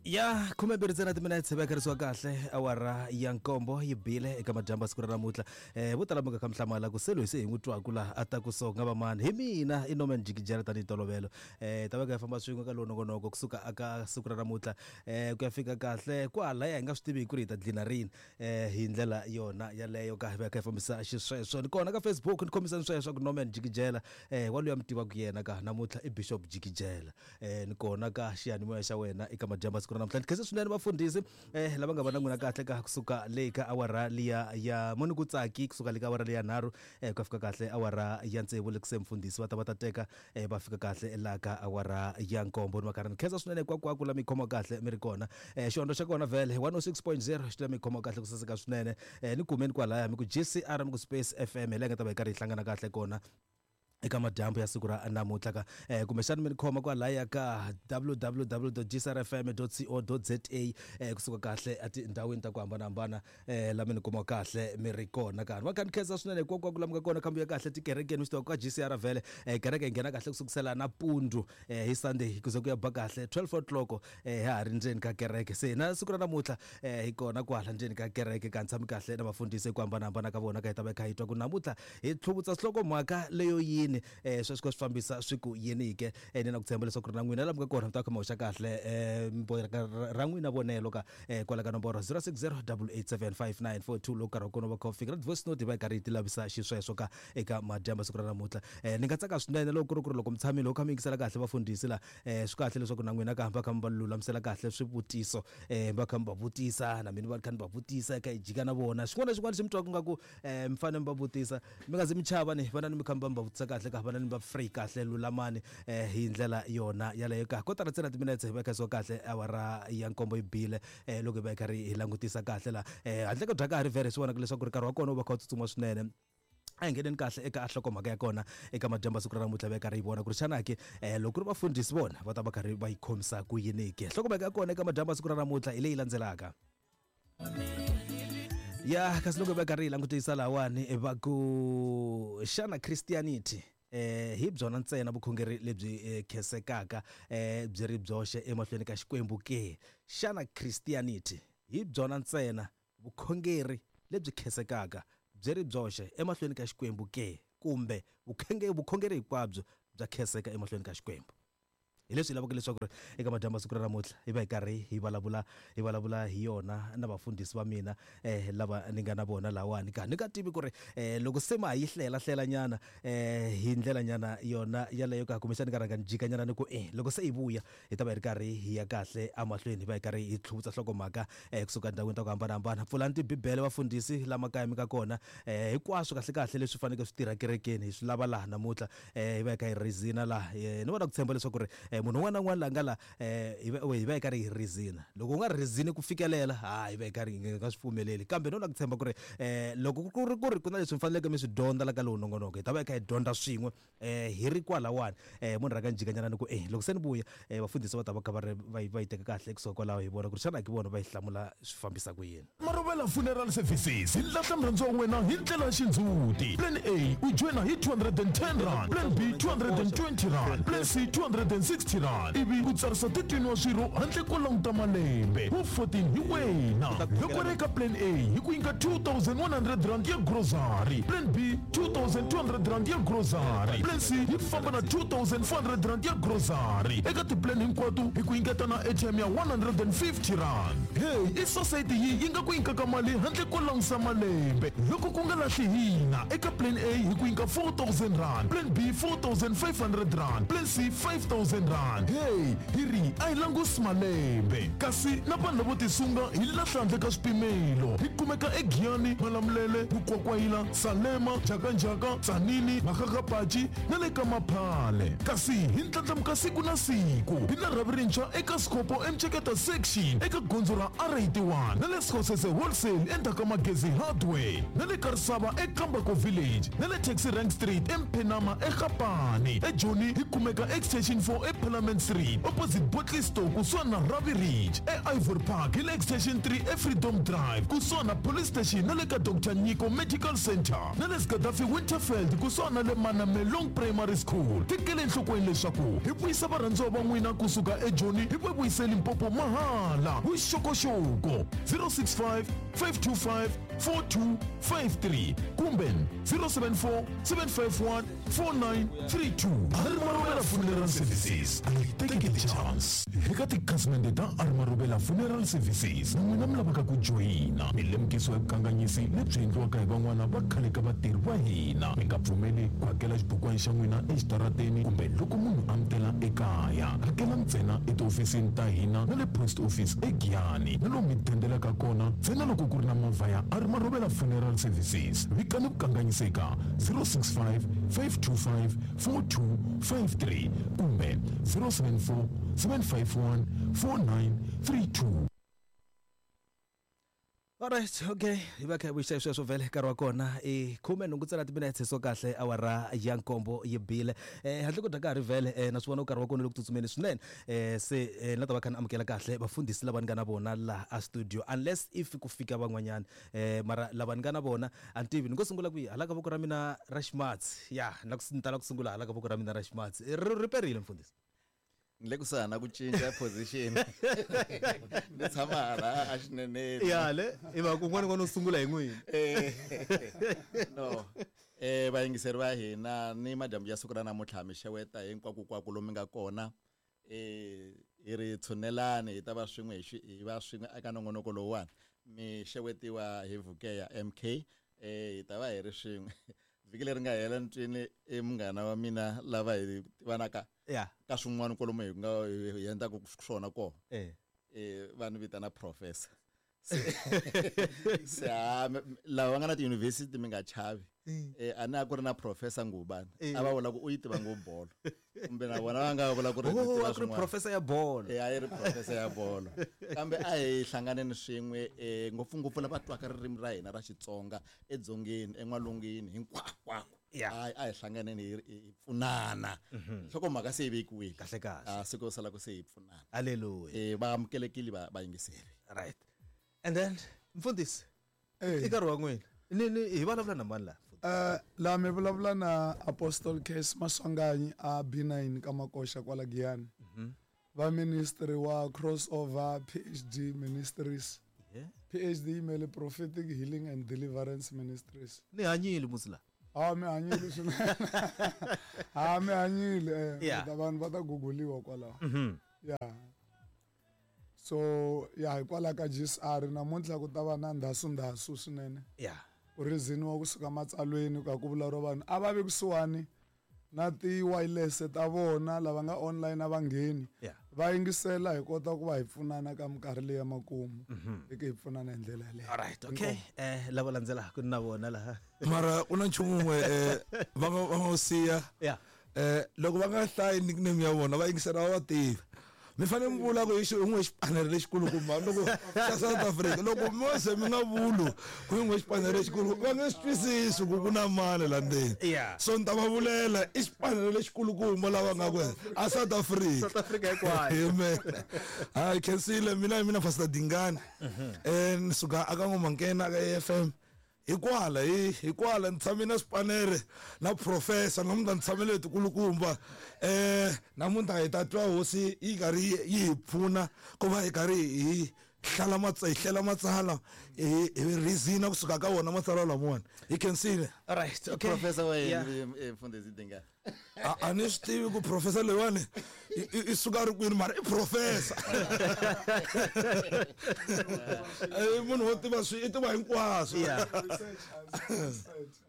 Ya 12 ntsena timinetse vekeriwa kahle awara ya nkombo yi bile eka madyambu ya siku ra namuntlha. Vo tala mi nga kha mi hlamala ku se loyi se hi n'wi twaku laha a ta ku so nga va mani hi mina i Norman Jikijela tanihi ntolovelo. Ta va kha hi famba swin'we ka lowu nongonoko kusuka aka siku ra namuntlha ku ya fika kahle kwalaya hi nga swi tivi ku ri hi ta dlina rini hi ndlela yona yaleyo ka hi va kha hi fambisa xisweswo. Ni kona ka Facebook ni khomisani sweswo ku Norman Jikijela wa luya mi tivaka yena ka namuntlha i Bishop Jikijela. Ni kona ka xiyanimoya xa wena eka madyambu ya siku ra namuntlha. Ni khensa swinene vafundhisi lava nga va na n'wina kahle ka kusuka le ka awara liya ya moni ku tsaki kusuka le ka awara liya nharhu ku ya fika kahle awara ya tsevu le kuse mfundhisi va ta va ta teka va fika kahle laha ka awara ya nkombo. Ni va karhi ni khensa swinene hinkwako la mi khoma kahle mi ri kona. Xihondzo xa kona vhele 106.0 xi la mi khoma kahle ku saseka swinene. Ni kumeni kwalaya mi ku GCR mi ku Space FM hi laha hi nga ta va hi karhi hi hlangana kahle kona eka madyambu ya siku ra namuntlha ka kumbexana mi ni khoma kwalaya ka www.gcrfm.co.za kusuka kahle etindhawini ta ku hambanahambana la mi ni kuma kahle mi ri kona ka va kha ni khensa swinene hinkwako ku lamuka kona khambi ya kahle tikerekeni mi swi tiva ka GCR vhele kereke yi nghena kahle ku sukusela nampundzu hi Sunday ku ze ku ya ba kahle 12 o'clock ha ha ri ndzeni ka kereke. Se na siku ra namuntlha hi kona kwala ndzeni ka kereke ka ni tshami kahle na vafundhisi hi ku hambanahambana ka vona ka hi ta va hi kha hi twa ku namuntlha hi tlhuvutsa nhlokomhaka leyo yini sweswi swi fambisa swi ku yini ke. Ni na ku tshemba leswaku ri na n'wina laha mi nga kona mi ta kha mi hoxa kahle ra n'wina vonelo ka kwala ka nomboro 060 887 5942 loko nkarhi wa kona va kha wu fika na ti-voice note hi va hi karhi hi ti lavisa xisweswo ka eka madyambu siku ra namuntlha. Ni nga tsaka swinene loko ku ri ku ri loko mi tshamile u kha mi yingisela kahle vafundhisi la swi kahle leswaku na n'wina ka va kha mi va lulamisela kahle swivutiso va kha mi va vutisa na mina va kha ni va vutisa kha hi jika na vona xin'wana na xin'wana xi mi twaka nga ku mi fanele mi va vutisa mi nga zi mi chava ni vana ni mi kha mi va mi va vutisa kahle ka vana ni va free kahle lulamani hi ndlela yona yaleyo ka kotara ntsena timinetse hi va kha kahle awara ya nkombo yi bile loko hi va hi karhi hi langutisa kahle la handle ko dya ka ha ri vhere swi vonaka leswaku ri nkarhi wa kona wu va kha wu tsutsuma swinene. A hi ngheneni kahle eka nhlokomhaka ya kona eka madyambu ya siku ra namuntlha va karhi yi vona ku ri xana ke loko ku ri vafundhisi vona va ta va karhi va yi khomisa ku yini ke. Nhlokomhaka ya kona eka madyambu ya siku ra namuntlha hi leyi landzelaka. Ya kasi loko va karhi hi langutisa lahawani va ku xana Christianity hi byona ntsena vukhongeri lebyi khensekaka byi ri byoxe emahlweni ka Xikwembu ke? Xana Christianity hi byona ntsena vukhongeri lebyi khensekaka byi ri byoxe emahlweni ka Xikwembu ke? Kumbe vukhongeri hinkwabyo bya khenseka emahlweni ka Xikwembu? Hi leswi hi lavaka leswaku ri eka madyambu ya siku ra namuntlha hi va hi karhi hi vulavula hi vulavula hi yona na vafundhisi va mina lava ni nga na vona lahawani ka ni nga tivi ku ri loko se ma ha yi hlela hlela nyana hi ndlela nyana yona yaleyo ka kumbexani ka rhanga ni jika nyana ni ku loko se hi vuya hi ta va hi ri karhi hi ya kahle emahlweni hi va hi karhi hi tlhuvutsa nhlokomhaka kusuka endhawini ta ku hambanahambana. Pfulani tibibele vafundhisi la makaya mi nga kona hinkwaswo kahle kahle leswi faneleke swi tirha kerekeni hi swi lava laha namuntlha hi va hi kha hi rizina laha. Ni vona ku tshemba leswaku ri munhu un'wana na un'wana la nga la hi va hi va hi karhi hi rizina. Loko u nga rizini ku fikelela ha hi va hi karhi hi nga swi pfumeleli kambe no na ku tshemba ku ri loko ku ri ku ri ku na leswi mi faneleke mi swi dyondza la ka lowu nongonoko hi ta va hi kha hi dyondza swin'we hi ri kwalawani. Munhu rhanga ni jikanyana ni ku e loko se ni vuya vafundhisi va ta va kha va ri va yi va yi teka kahle kusuka kwalaho hi vona ku ri xana ki vona va yi hlamula swi fambisa ku yini. Marhuvela Funeral Services yi lahla murhandziwa wa wena hi ndlela ya xindzhuti. Plan A u joyina hi R210, Plan B R220, Plan C R260 ivi u tsarisa 13 wa swirho handle ko languta malembe. Wu 14 hi wena. Loko ri eka Plan A hi ku nyika R2100 ya grocery, Plan B R2200 ya grocery, Plan C yi famba na R2400 ya grocery. Eka ti-plan hinkwato hi ku nyiketa na airtime ya R150. Hey, i sosayiti yihi yi nga ku nyikaka mali handle ko langusa malembe? Loko ku nga lahli hina, eka Plan A hi ku nyika R4000, Plan B R4500, Plan C R5000. Hey, hi ri a hi langusi malembe. Kasi na vanhu lavo tisunga hi lahla handle ka swipimelo. Hi kumeka eGiyani, Malamulele, Mukwakwayila, Salema, Njhakanjhaka, Tzaneen, Makgakgapachi na le ka Maphale. Kasi hi ndlandlamuka siku na siku. Hi na rhavi rintshwa eka Skhopho eMceketa Section eka gondzo ra R81 na le Skhosese Wholesale endzhaku ka Magezi Hardware na le Karisava eKambako Village na le Taxi Rank Street eMphenama eGapane. EJoni hi kumeka Extension 4 e. Parliament Street opposite Botley Store kusuhani na Ravi Ridge, eIvory Park hi le Extension 3 eFreedom Drive kusuhani na Police Station na le ka Doctor Nyiko Medical Centre na le Gaddafi Winterveld kusuhani na le Manamelong Primary School. Tekela enhlokweni leswaku hi vuyisa varhandziwa va n'wina kusuka eJoni hi va vuyise Limpopo mahala. Vuxokoxoko 065 525 4253 kumbe 074 751 4932. Armarobela Funeral Services a yi teki ti-chance. Eka tikhasimende ta Armarobela Funeral Services na n'wina mi lavaka ku joyina, mi lemukisiwa hi vukanganyisi lebyi endliwaka hi van'wana va khale ka vatirhi va hina. Mi nga pfumeli ku hakela xibukwana xa n'wina exitarateni kumbe loko munhu a mi tela ekaya. Hakela ntsena etihofisini ta hina na le post office eGiyani na lomu mi dendelaka kona ntsena loko ku ri na movha ya Armarobela Funeral Services. Vikani vukanganyisi eka 065 525 4253 kumbe 074 751 4932. Alright, okay. Hi va kha hi vuyisa sweswo vhele nkarhi wa kona i 18 ntsena timinetse so kahle awara ya nkombo yi bile. Handle ko dya nkarhi vhele na swi vona nkarhi wa kona le ku tsutsumeni swinene. Se na ta va kha ni amukela kahle vafundhisi lava ni nga na vona laha a studio unless if ku fika van'wanyana. Mara lava ni nga na vona a ni tivi ni ngo sungula kwihi hala ka voko ra mina ra ximatsi. Ya, na ku ni tala ku sungula hala ka voko ra mina ra ximatsi. Ri perile mfundhisi. Ni le kusuhani na ku cinca position. Ni tshama hala a xineneni. Ya le, i va ku un'wana n'wana u sungula hi n'wini. No. Vayingiseri va hina ni madyambu ya siku ra namuntlha mi xeweta hinkwako lomu mi nga kona. Hi ri tshunelani hi ta va swin'we hi va swin'we eka nongonoko lowuwani. Mi xewetiwa hi Vukeya MK. Hi ta va hi ri swin'we. Vhiki leri nga hela ni twini i munghana wa mina lava hi tivanaka ka swin'wana kwalomu hi nga hi endlaka swona kona. Va ni vitana professor. Se lava va nga na tiyunivhesiti mi nga chavi. A ni a ku ri na professor Ngubani. A va vula ku u yi tiva ngopfu bolo. Kumbe na vona va nga vula ku ri tiva a ku ri professor ya bolo. A yi ri professor ya bolo. Kambe a hi hlanganeni swin'we ngopfungopfu lava twaka ririmi ra hina ra Xitsonga edzongeni, en'walungwini, hinkwako. A hi hlanganeni hi pfunana. Nhlokomhaka se yi vekiwile. Kahle kahle. Siku ro sala ku se hi pfunana. Hallelujah. Va amukelekile vayingiseri. Right. And then mfundhisi, i nkarhi wa n'wina. Ni hi vulavula na mani laha? La mi vulavula na Apostle Case Maswanganyi a B9 ka Makoxa kwala Giyani. Va ministry wa Crossover PhD Ministries. PhD yimele Prophetic Healing and Deliverance Ministries. Ni hanyile musi la. Mi hanyile swinene. Mi hanyile. Vanhu va ta googliwa kwalaho. Yeah. So hikwalaho ka GSR namuntlha ku ta va na ndhasu swinene. Ku riziniwa kusuka matsalweni ka ku vulavuriwa vanhu a va vi kusuhani na ti-wireless ta vona lava nga online a va ngheni. Va yingisela hi kota ku va hi pfunana ka minkarhi leyi ya makumu. Hi ke hi pfunana hi ndlela yaleyo. Alright, okay. Lava landzelaka na vona laha. Mara u na nchumu wun'we va nga wu siya. Loko va nga hlayi nickname ya vona va yingisela va va tivi. Mi fanele mi vula ku hi n'we xipanere lexikulukumba loko xa South Africa loko mi se mi nga vuli ku hi n'we xipanere lexikulu va nge swi twisisi ku ku na mali la ndzeni. So ni ta va vulela i xipanere lexikulukumba lava nga ku a South Africa. South Africa hinkwayo. Amen. Hayi khensile mina hi mina Pastor Dingani. Ni suka aka N'wamakena ka AFM. Hikwala hikwala ni tshame na swipanere na professor namuntlha ni tshamele tikulukumba. Namuntlha hi ta twa hosi yi karhi yi hi pfuna ku va hi karhi hi hlala hi hlela matsalwa hi reason kusuka ka wona matsalwa lamawani. Hi khensile. Alright, okay. Professor wa yini mfundhisi Dingani? A ni swi tivi ku professor leyiwani i suka ri kwini mara i professor. Munhu wo tiva swi i tiva hinkwaswo.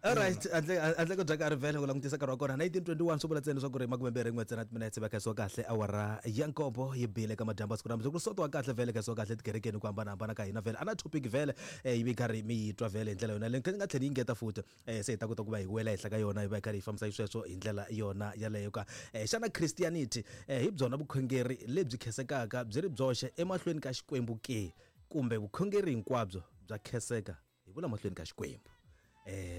Alright, handle ko dya nkarhi vhele ku langutisa nkarhi wa kona 1921 swi vula ntsena leswaku ri 21 ntsena timinetse va khensiwa kahle awara ya nkombo yi bile ka madyambu siku namuntlha ku sotiwa kahle vhele khensiwa kahle tikerekeni ku hambanahambana ka hina vhele a na topic vhele yi vi karhi mi yi twa vhele hi ndlela yona leyi ni nga tlhela yi ngeta futhi se hi ta kota ku va hi wela henhla ka yona hi va hi karhi hi fambisa xisweswo hi ndlela yona yaleyo ka. Xana Christianity hi byona vukhongeri lebyi khensekaka byi ri byoxe emahlweni ka Xikwembu ke kumbe vukhongeri hinkwabyo bya khenseka hi vula mahlweni ka Xikwembu?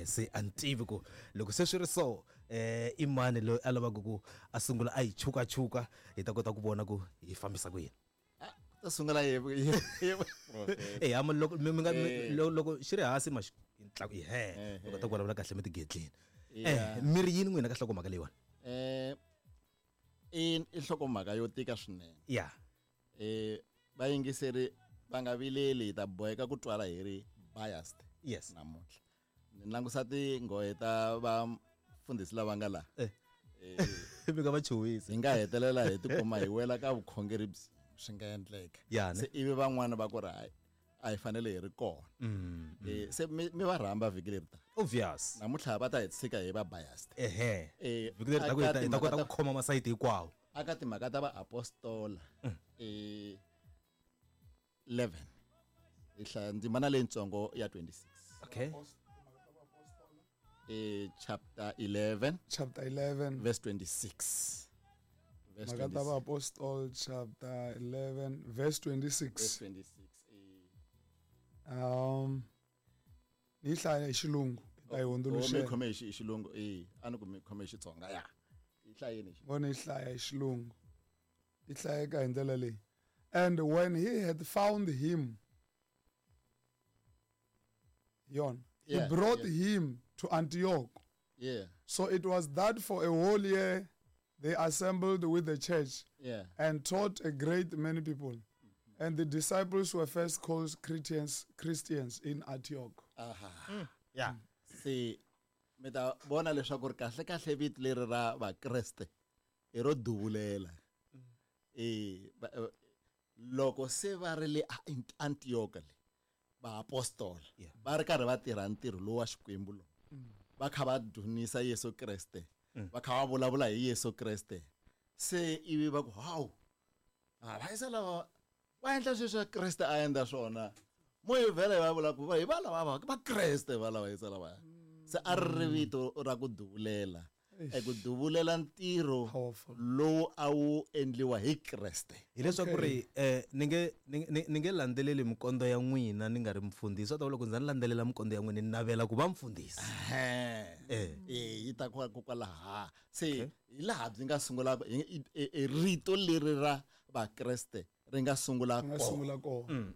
Se a ni tivi ku loko se swi ri so I mani loyi a lavaka ku a sungula a yi chukachuka, hi ta kota ku vona ku hi fambisa ku yini? Ta sungula hi Eh, ama loko mi nga loko xi ri hansi ma xi tlaku he, mi kota ku vulavula kahle mi tigedlini. Mi ri yini n'wina ka nhlokomhaka leyiwani? I nhlokomhaka yo tika swinene. Vayingiseri va nga vileli, hi ta boheka ku twala hi ri biased. Namuntlha ni langusa tinghohe ta vafundhisi lava nga laha. Mi nga va chuhisi. Hi nga hetelela hi tikuma hi wela ka vukhongeri byi swi nga endleka. Se ivi van'wana va ku ri hayi, a hi fanele hi ri kona. Se mi va rhamba vhiki leri ta. Obvious. Namuntlha va ta hi tshika hi va biased. Vhiki leri ta ku hi ta kota ku khoma masayiti hinkwawo. Aka timhaka ta vaapostola, 11. Hi hlaya ndzimana leyitsongo ya 26. Chapter 11. Chapter 11. Verse 26. Verse Mhaka ta 26. Vaapostol, chapter 11, verse 26. Verse 26. Ni hlaya hi xilungu, hi ta yi Oh, hundzuluxela. mi khome hi xilungu, a ni ku mi khome hi Xitsonga, ya. Yi hlayeni hi xilungu. Vona yi hlaya hi xilungu. Yi hlayeka hi ndlela leyi. And when he had found him, yon, he brought him to Antioch. So it was that for a whole year they assembled with the church and taught a great many people. And the disciples were first called Christians in Antioch. Se mi ta vona leswaku ri kahle kahle vito leri ra Vakreste i ro duvulela. Loko se va ri le Antioch le, vaapostola va ri karhi va tirha ntirho lowu wa Xikwembu lowu. Va kha va dzunisa Yesu Kreste. Va kha va vulavula hi Yesu Kreste. Se ivi va ku, hawu, ha, va yisa lava va endla sweswi swa Kreste a endla swona. Mo hi vhela hi va vula ku va hi va lava va va Kreste va lava yisa lava. Se a ri ri vito ra ku duvulela. Ku duvulela ntirho Powerful. lowu a wu endliwa hi Kreste. Hileswaku ri, ni nge landzeleli mikondo ya n'wina ni nga ri mufundhisi. Swa ta vula ku ndza ni landzelela mikondo ya n'wina ni navela ku va mufundhisi. Yi ta ku kwalaha. Se hi laha byi nga sungula, rito leri ra Vakreste ri nga sungula Ri nga kona. sungula kona.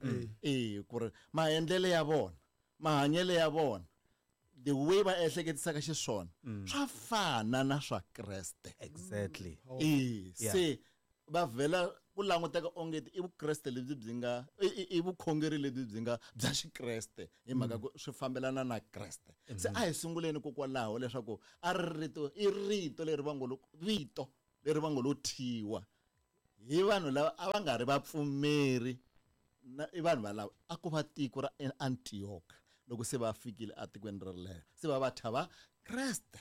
Ku ri maendlelo ya vona, mahanyelo ya vona, the way va ehleketisaka xiswona, swa fana na swa Kreste. Se va vhela ku languteka onge i Vukreste lebyi byi nga, i vukhongeri lebyi byi nga bya Xikreste, hi mhaka ku swi fambelana na Kreste. Se a hi sunguleni kokwalaho leswaku a ri rito, i rito leri va ngo lo, vito leri va ngo lo thyiwa hi vanhu lava a va nga ri vapfumeri, na i vanhu valava a ku va tiko ra Antioch loko se va fikile etikweni rolero, se va va thya va Kreste.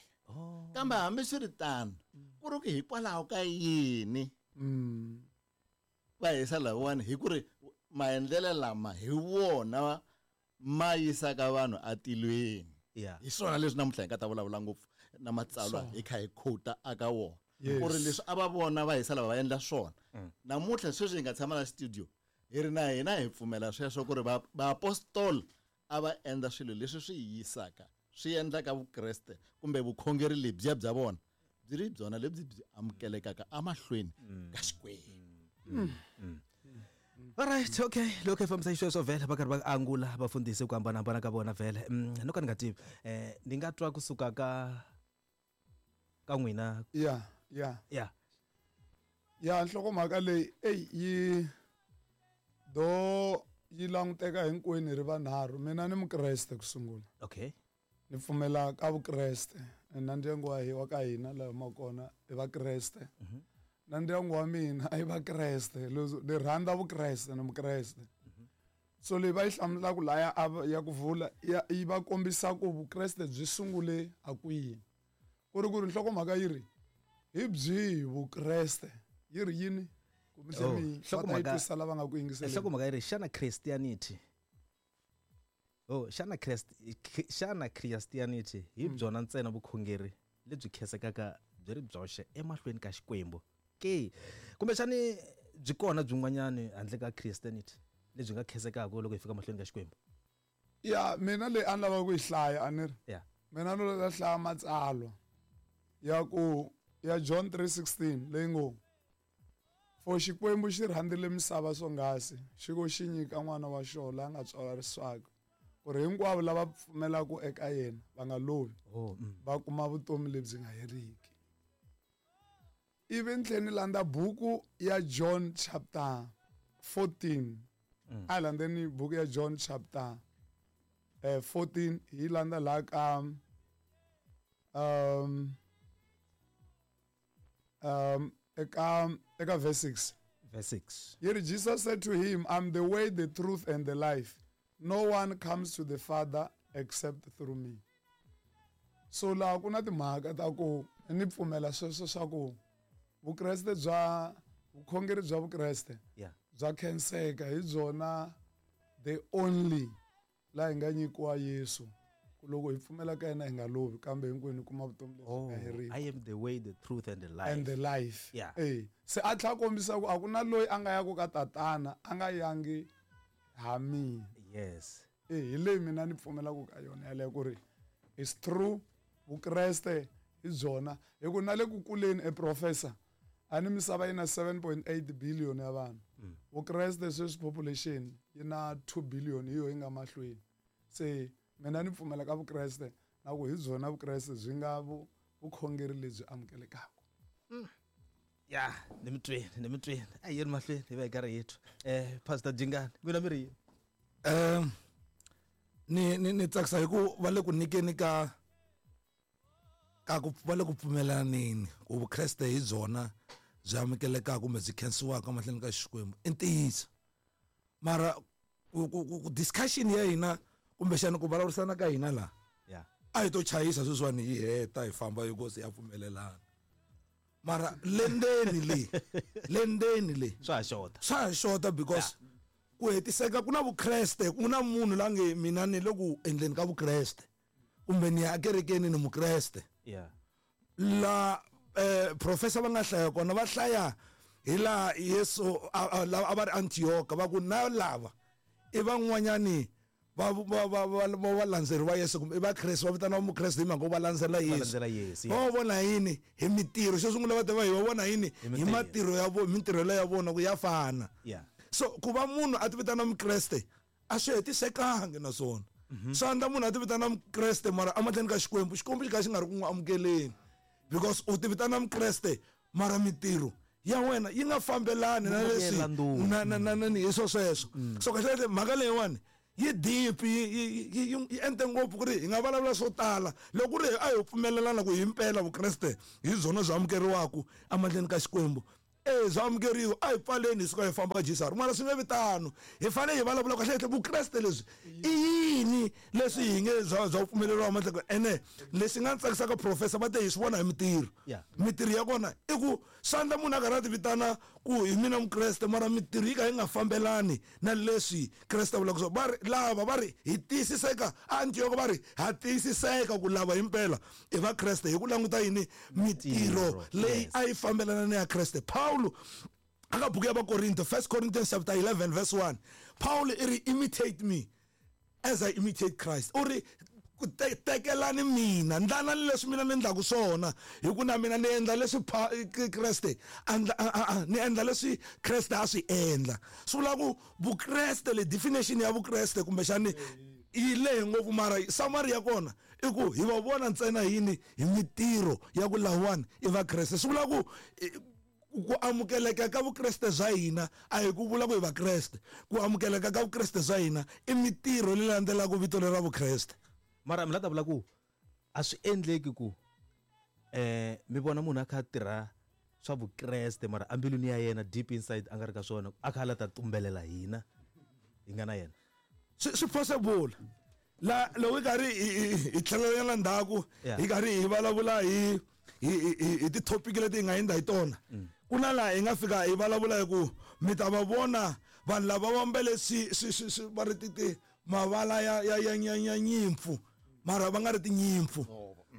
Kambe hambiswiritano, ku ri ku hikwalaho ka yini va hisa lavawani, hi ku ri maendlelo lama hi wona ma yisaka vanhu atilweni. Hi swona leswi namuntlha hi nga ta vulavula ngopfu na matsalwa hi kha hi quote aka wona. Ku ri leswi a va vona va hisa lava va endla swona. Namuntlha sweswi hi nga tshama na studio, hi ri na hina hi pfumela sweswo ku ri vaapostola a va endla swilo leswi swi yisaka, swi endlaka Vukreste kumbe vukhongeri lebyiya bya vona byi ri byona lebyi byi amukelekaka emahlweni ka Xikwembu. All right, okay. Lokho hi fambisa xisweswo vhele va karhi va angula vafundhisi ku hambanahambana ka vona vhele. No ka ni nga tivi. Ni nga twa kusuka ka n'wina. Yeah, yeah. Ya, nhlokomhaka leyi, ey, yi do yi languteka hinkwenu hi ri vanharhu. Mina ni Mukreste ku sungula. Ni pfumela ka Vukreste. Na ndyangu wa wa ka hina laha humaka kona i Vakreste. Na ndyangu wa mina i Vakreste. Leswi ni rhandza Vukreste, ni Mukreste. So leyi va yi hlamulaka laya a va, ya ku vula, ya, yi va kombisa ku Vukreste byi sungule a kwihi. Ku ri ku ri nhlokomhaka yi ri hi byihi Vukreste? Yi ri yini? Kumbe Oh, mi va ta yi twisa lava nga ku yingiseleni. Nhlokomhaka yi ri xana Christianity? Oh, xana Christ, xana Christianity hi byona ntsena vukhongeri lebyi khensekaka byi ri byoxe emahlweni ka Xikwembu ke? Kumbexani byi kona byin'wanyani handle ka Christianity lebyi nga khensekaka loko hi fika mahlweni ka Xikwembu? Ya, mina leyi a ni lava ku yi hlaya, a ni ri. Mina no la hlaya matsalwa. Ya ku ya John 3:16 leyi ngo for Xikwembu xi rhandzile misava swonghasi xi ko xi nyika n'wana wa xona la nga tswariswaka ku ri hinkwavo lava pfumelaka eka yena va nga lovi va kuma vutomi lebyi nga heriki. Ivi ni tlhela ni landza buku ya John chapter 14. A hi landzeni buku ya John chapter 14 hi landza laha ka eka verse 6. Verse 6. Here Jesus said to him, I'm the way, the truth, and the life. No one comes to the Father except through me. So laha ku na timhaka ta ku ni pfumela sweswo swa ku Vukreste bya vukhongeri bya Vukreste bya khenseka hi byona the only laha hi nga nyikiwa Yesu ku loko hi pfumela ka yena hi nga lovi kambe hinkwenu hi kuma vutomi lebyi nga heriki. I am the way, the truth and the life. And the life. Se a tlhela kombisa ku a ku na loyi a nga yaku ka tatana a nga yangi ha mina. Hi leyi mina ni pfumelaka ka yona yaleyo ku ri it's true Vukreste hi byona hi ku na le ku kuleni e professor a ni misava yi na 7.8 billion ya vanhu. Vukreste sweswi population yi na 2 billion hi yo yi nga mahlweni. Se mina ni pfumela ka Vukreste na ku hi byona Vukreste byi nga vukhongeri lebyi amukelekaka. Ya, ni mi twini, ni mi twini. A hi yeni mahlweni hi va hi karhi hi twa. Pastor Dingani, n'wina mi ri yini? Ni tsakisa hi ku va le ku nyikeni ka ka ku va le ku pfumelaneni ku Vukreste hi byona byi amukelekaka kumbe byi khensiwaka mahlweni ka Xikwembu i ntiyiso. Mara ku discussion ya hina kumbexana ku vulavurisana ka hina laha a hi to chayisa sweswiwani hi heta hi famba hi ku se ya pfumelelana. Mara lendeni le, lendeni le swa ha xota. Swa ha xota because ku hetiseka ku na Vukreste, ku na munhu la nge mina ni le ku endleni ka Vukreste kumbe ni ya ekerekeni ni Mukreste. La professor va nga hlaya kona va hlaya hi laha Yesu a va ri Antioch va ku na lava i van'wanyani va valandzeri va Yesu kumbe i Vakreste va vitaniwa Mukreste hi mhaka ku va landzela Yesu. Va landzela Yesu, Va vona yini hi mitirho? Xo sungula va ta va hi va vona yini Hi hi matirho ya vona, mitirho leya vona ku ya fana. So ku va munhu a ti vitana Mukreste a swi hetisekangi naswona. Swi endla munhu a ti vitana Mukreste mara emahlweni ka Xikwembu, Xikwembu xi kha xi nga ri ku n'wi amukeleni because u ti vitana Mukreste mara mitirho ya wena yi nga fambelani na leswi Vuyela ndhuma. na, na, na, na, ni hi swo sweswo. So kahle kahle mhaka leyiwani yi deep, yi ente ngopfu ku ri hi nga vulavula swo tala. Loko ku ri a hi pfumelelana ku himpela Vukreste hi byona byi amukeriwaka emahlweni ka Xikwembu, byi amukeriwa, a hi pfaleni hi suka hi famba ka Jesus. Mara swi nge vi tano. Hi fanele hi vulavula kahle kahle Vukreste lebyi i yini leswi hi nge bya pfumeleriwa emahlweni ka ene lexi nga tsakisaka professor va te hi swi vona hi mitirho. Mitirho ya kona i ku swi endla munhu a karhi a ti vitana ku hi mina Mukreste mara mitirho yi ka yi nga fambelani na leswi Kreste a vulaka swona. Va ri lava va ri hi tiyisiseka a Antioch va ri ha tiyisiseka ku lava himpela i va Kreste hi ku languta yini mitirho leyi a yi fambelana na ya Kreste. Paulo aka buku ya Vakorinto, 1 Corinthians chapter 11 verse 1, Paulo i ri imitate me as I imitate Christ. U ri ku tekelani mina, ndlanani leswi mina ni endlaku swona, hi ku na mina ni endla leswi Kreste a ndla, a, a, a, ni endla leswi Kreste a swi endla. Swi vula ku Vukreste le definition ya Vukreste kumbexani yi lehe ngopfu, mara summary ya kona i ku hi va vona ntsena yini hi mitirho ya ku lawani i Vakreste. Swi vula ku ku amukeleka ka Vukreste bya hina a hi ku vula ku hi Vakreste, ku amukeleka ka Vukreste bya hina i mitirho leyi landzelaka vito leri ra Vukreste. Mara mi la ta vula ku a swi endleki ku mi vona munhu a kha a tirha swa Vukreste mara embilwini ya yena deep inside a nga ri ka swona, a kha a la ta tumbelela hina hi nga na yena. Swi possible. La loko hi karhi hi tlhelela ndzhaku, hi karhi hi vulavula hi ti-topic leti hi nga hundza hi tona. Ku na laha hi nga fika hi vulavula hi ku mi ta va vona vanhu lava va ambele swi va ri ti mavala ya nyimpfu mara va nga ri tinyimpfu.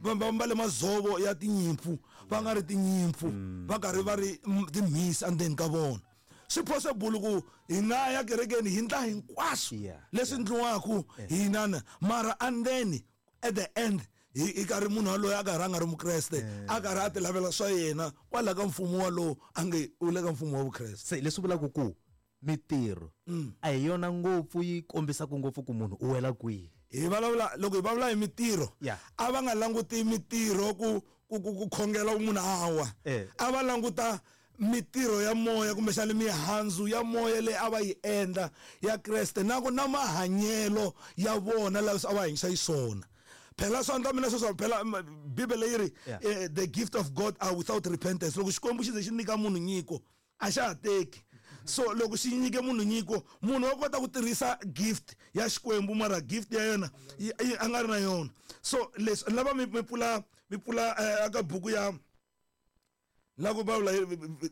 Va ambale madzovo ya tinyimpfu va nga ri tinyimpfu, va karhi va ri timhisi endzeni ka vona. Swi possible ku hi nga ya kerekeni hi ndla hinkwaswo leswi ndliwaka hi inana, mara and then at the end Hi karhi munhu waloye a karhi a nga ri mukreste, a karhi a ti lavela swa yena kwala ka mfumo walowo a nge u le ka mfumo wa vukreste. Se leswi vulaka ku mitirho a hi yona ngopfu yi kombisaka ngopfu ku munhu u wela kwihi. Hi vulavula loko hi vulavula hi mitirho, a va nga languti mitirho ku khongela munhu a wa. A va languta mitirho ya moya kumbexana mihandzu ya moya leyi a va yi endla ya Kreste na ku na mahanyelo ya vona lawa a va hanyisa xiswona. Phela swa ndla mina sweswo, phela Bibele yi ri the gift of God are without repentance. Loko Xikwembu xi ze xi nyika munhu nyiko a xa ha teki. So loko xi nyike munhu nyiko, munhu wa kota ku tirhisa gift ya Xikwembu mara gift ya yena a nga ri na yona. So leswi lava mi pfula mi pfula aka buku ya la ku vulavula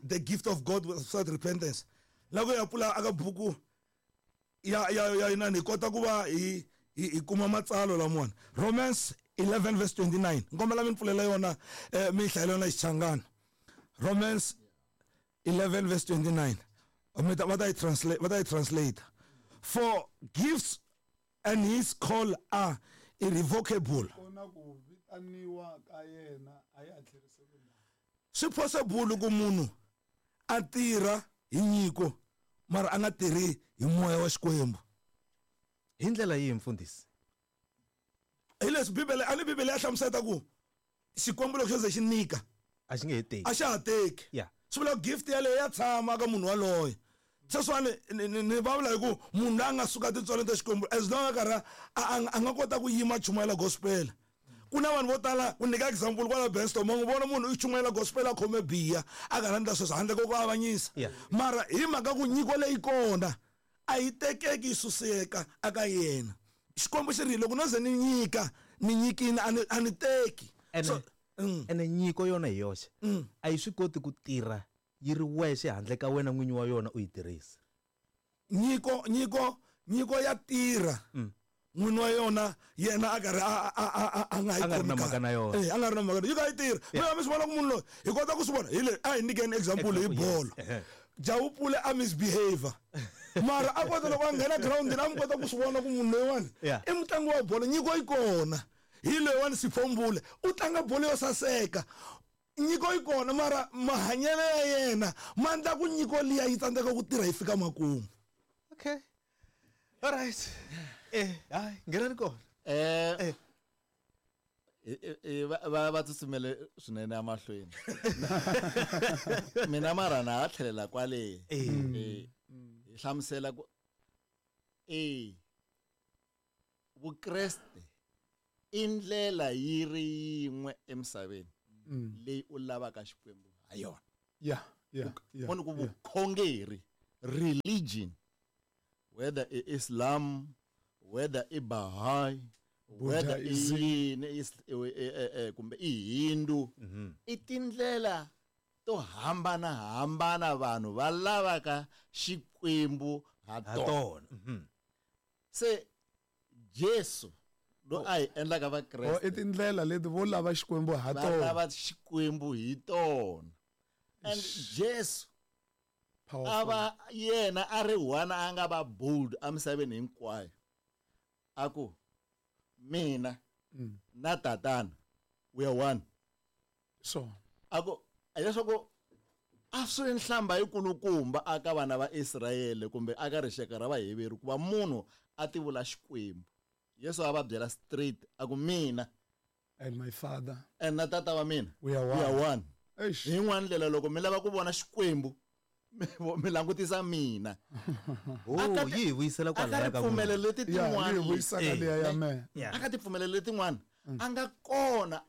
the gift of God without repentance. La ku ya pfula aka buku ya inani hi kota ku va hi kuma matsalwa lamawani. Romans 11 verse 29. Nkombela mi pfulela yona mi hlayela yona Xichangana. Romans 11 verse 29. Va ta yi translate, va ta yi translate. For gifts and his call are irrevocable. Swi possible ku munhu a tirha hi nyiko mara a nga tirhi hi moya wa Xikwembu. Hi ndlela yihi mfundhisi? Hi leswi Bibele, a ni Bibele ya hlamusela ku Xikwembu loko xo ze xi nyika a xi nge he teki. A xa ha teki. Swi vula gift yaleyo ya tshama ka munhu waloye. Sweswiwani ni vulavula hi ku munhu loyi a nga suka tintswalo ta Xikwembu as long a karhi a nga kota ku yima chumayela gospel. Ku na vanhu vo tala, ku nyika example kwala Benston, ma n'wi vona munhu u chumayela gospel a khome biya a karhi a endla sweswo handle ko ku avanyisa. Mara hi mhaka ku nyiko leyi kona a yi tekeki yi suseka aka yena. Xikwembu xi ri loko no ze ni nyika, ni nyikini a ni teki. Ene nyiko yona hi yoxe a yi swi koti ku tirha yi ri wexe handle ka wena n'winyi wa yona u yi tirhisa. Nyiko ya tirha. N'wini wa yona yena a karhi a nga yi A nga ri na mhaka na yona. A nga ri na mhaka. Yi ka yi tirha. Mina mi swi vona ku munhu loyi hi kota ku swi vona hi le a hi nyikeni example hi bolo. Jawupule a misbehavior. Mara a kota loko a nghena groundini a mi kota ku swi vona ku munhu loyiwani i mutlangi wa bolo, nyiko yi kona. Hi loyiwani Siphombule u tlanga bolo yo saseka. Nyiko yi kona mara mahanyelo ya yena ma endla ku nyiko liya yi tsandzeka ku tirha yi fika makumu. Okay. All right. Hayi nghenani kona. Va tsutsumele swinene emahlweni. Mina mara na ha tlhelela kwale. Hi hlamusela ku Vukreste i ndlela yi ri yin'we emisaveni leyi u lavaka Xikwembu ha yona. Vona ku vukhongeri, religion, whether i Islam, whether i Baha'i, whether i yini, kumbe i Hindu, i tindlela to hambana hambana vanhu va lavaka Xikwembu ha tona. Se Jesu lo a hi endlaka Vakreste. I tindlela leti vo lava Xikwembu ha tona. Va lava Xikwembu hi tona. And Jesu a va yena a ri one a nga va bold emisaveni hinkwayo. A ku mina na tatana we are one. So a ku leswaku a swi nhlamba yikulukumba aka vana va Israyele kumbe aka rixaka ra Vaheveru ku va munhu a tivula Xikwembu. Yesu a va byela straight a ku mina and my father and na tata wa mina we are one. We are one. Hi yin'wana ndlela loko mi lava ku vona Xikwembu mi langutisa mina. Yi hi vuyisela kwalaya ka ripfumelo leti tin'wana. Yi vuyisaka liya ya mehe. Aka tipfumelo letin'wana a nga kona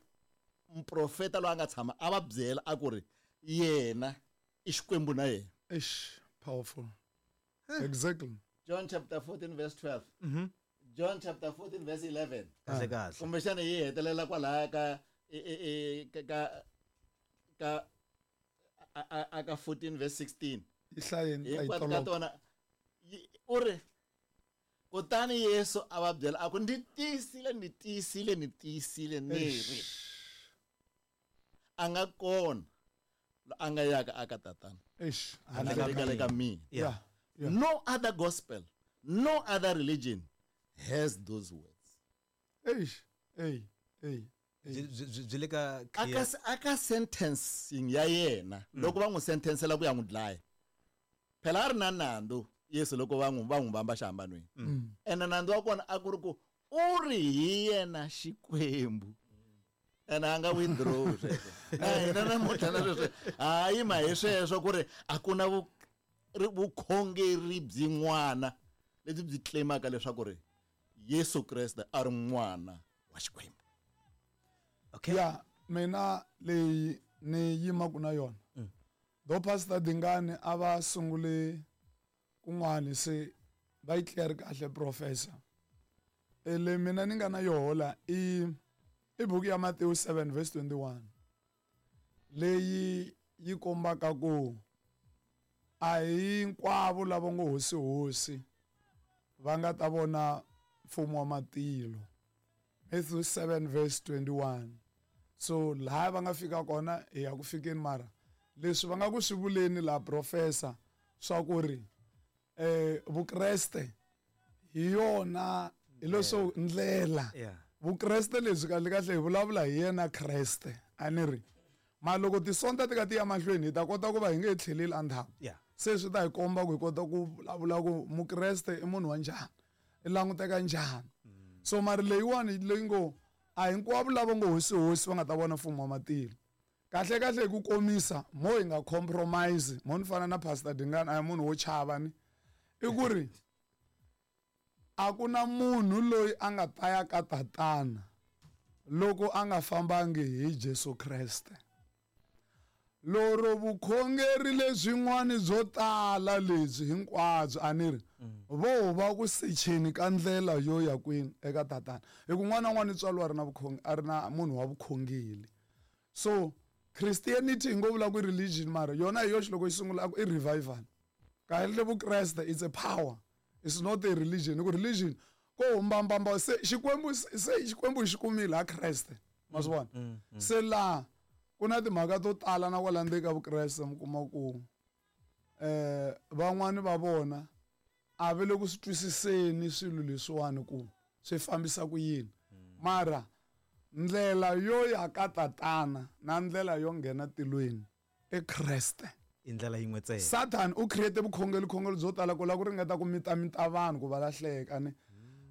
muprofeta loyi a nga tshama a va byela a ku ri yena i Xikwembu na yena. Eish, powerful. Exactly. John chapter 14 verse 12. John chapter 14 verse 11. Kahle kahle. Kumbexana yi hetelela kwalaya ka ka ka 14 verse 16. Yi hlayeni hinkwato ka tona u ri kutani Yesu a va byela a ku ndzi tiyisile ni tiyisile ni tiyisile ni ri a nga kona a nga yaka aka tatana. Eish, handle ka mina. No other gospel, no other religion has those words. Eish, hey, hey. Byi le ka aka sentencing ya yena, loko va n'wi sentencela ku ya n'wi dlaya, phela a ri na nandzu Yesu loko va n'wi vamba xihambanweni. Ene nandzu wa kona a ku ri ku u ri hi yena Xikwembu, ene a nga withdraw sweswo. Na hina namuntlha na sweswo ha yima hi sweswo ku ri a ku na vukhongeri byin'wana lebyi byi claimaka leswaku ri Yesu Kreste a ri n'wana wa Xikwembu. Okay. Ya mina leyi ni yimaka na yona, do Pastor Dingani a va sungule kun'wani se va yi clear kahle professor. Le mina ni nga na yoho la i buku ya Matthew 7 verse 21 leyi yi kombaka ku a hinkwavo lava ngo hosi hosi va nga ta vona mfumo wa matilo. Matthew 7 verse 21. So laha va nga fika kona hi ya ku fikeni, mara leswi va nga ku swi vuleni la professor swa ku ri Vukreste hi yona hi leswo ndlela. Vukreste lebyi kahle kahle hi vulavula hi yena Kreste, a ni ri ma loko tisonta ti ka ti ya mahlweni hi ta kota ku va hi nge tlheleli endzhaku. Se swi ta hi komba ku hi kota ku vulavula ku Mukreste i munhu wa njhani, i languteka njhani. So mara leyiwani leyi ngo a hinkwavo lava ngo hosi hosi va nga ta vona mfumo wa matilo. Kahle kahle hi ku komisa, mo hi nga compromise, mo ni fana na Pastor Dingani a hi munhu wo chava ni, i ku ri a ku na munhu loyi a nga ta ya ka tatana loko a nga fambangi hi Jesu Kreste. Loro vukhongeri lebyin'wani byo tala lebyi hinkwabyo a ni ri vo va ku secheni ka ndlela yo ya kwini eka tatana, hi ku n'wana na un'wana tswariwa a ri na a ri na munhu wa vukhongeri. So Christianity hi ngo vula ku religion, mara yona hi yoxe loko yi sungula a ku i revival. Kahle Vukreste it's a power, it's not a religion. Hi ku religion ko humbambamba se Xikwembu se Xikwembu xi kumile ha Kreste, ma swi vona. Se laha ku na timhaka to tala na kwala ndzeni ka Vukreste mi kuma ku van'wani va vona a va le ku swi twisiseni swilo leswiwani ku swi fambisa ku yini, mara ndlela yo ya ka tatana na ndlela yo nghena tilweni i Kreste. I ndlela yin'we ntsena. Satan u create vukhongeri khongeri byo tala ku lava ku ringeta ku mitamita vanhu ku va lahleka ni,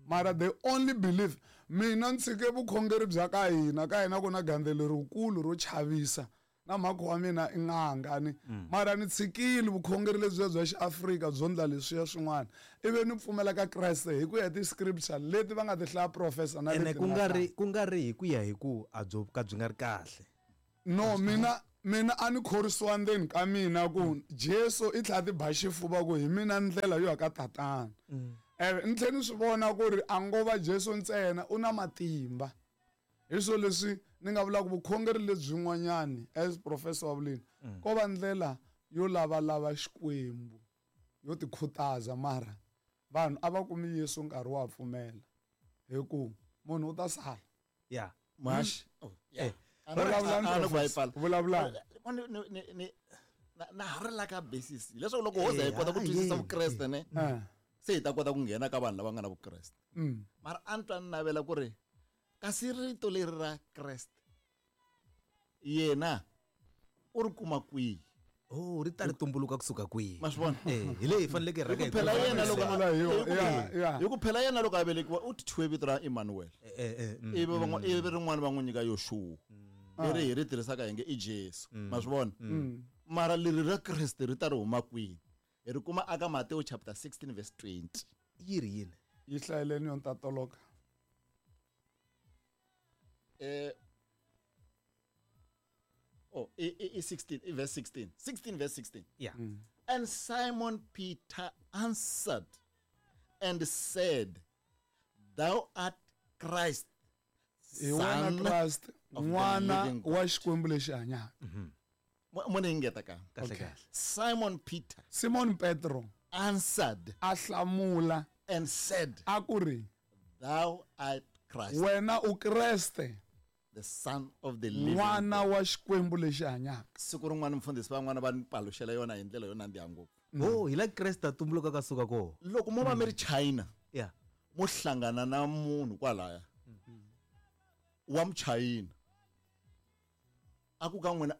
mara they only believe. Mina ni tshike vukhongeri bya ka hina, ka hina ku na gandzelo lerikulu ro chavisa na mhakho wa mina i n'anga ni, mara ni tshikile vukhongeri lebyiya bya xiAfrika byo ndla leswiya swin'wana, ivi ni pfumela ka Kreste hi ku ya ti-scripture leti va nga ti hlaya professor na ene leti ku nga nga ri hlaya. ku nga ri hi ku ya hi ku a byo ka byi nga ri kahle. No, mina a ni khorisiwa ndzeni ka mina ku Jesu i tlhela ti ba xifuva ku hi mina ndlela yo ya ka tatana. Ni tlhela ni swi vona ku ri a ngo va Jesu ntsena u na matimba. Hi swo leswi ni nga vulaka vukhongeri lebyin'wanyani as professor wa vuleni, ko va ndlela yo lavalava Xikwembu, yo tikhutaza, mara vanhu a va kumi Yesu nkarhi wa pfumela hi ku munhu u ta sala. Mash. Oh, yeah. Vulavulani, Vulavulani. Vulavulani. Na ha ri la ka basis leswaku loko ho za hi kota ku twisisa Vukreste ne, se hi ta kota ku nghena ka vanhu lava nga na Vukreste. Mara a ni twa ni navela ku ri kasi rito leri ra Kreste yena u ri kuma kwihi? Oh, ri ta ri tumbuluka kusuka kwihi? Ma swi vona? Hi leyi hi faneleke hi rhanga hi Hi ku phela kuma yena loko Sungula hi yona. hi ku phela yena loko a velekiwa u thyiwe vito ra Emmanuel. Ivi ivi rin'wana va n'wi nyika Yoshua. Leri hi ri tirhisaka hi nge i Jesu. Ma swi vona? Mara leri ra Kreste ri ta ri huma kwihi? Hi ri kuma aka Mateo chapter 16 verse 20. Yi ri yini? Yi hlayeleni yona ta toloka. Oh, i 16, i verse 16. 16 verse 16. And Simon Peter answered and said, Thou art Christ, Hi wena Son Christ, of the n'wana living God. wa Xikwembu lexi hanyaka. Mo ni engeta ka. Kahle kahle. Simon Peter Simon Petro answered a hlamula and said, a ku ri, Thou art Christ, wena u Kreste, the Son of the living n'wana God. wa Xikwembu lexi hanyaka. Siku rin'wana mfundhisi van'wana va ni paluxela yona hi ndlela yo nandziha ngopfu. Oh, hi la Kreste a tumbuluka ka suka kona. Loko mo va mi ri China, mo hlangana na munhu kwalaya wa Muchayina. A ku ka n'wina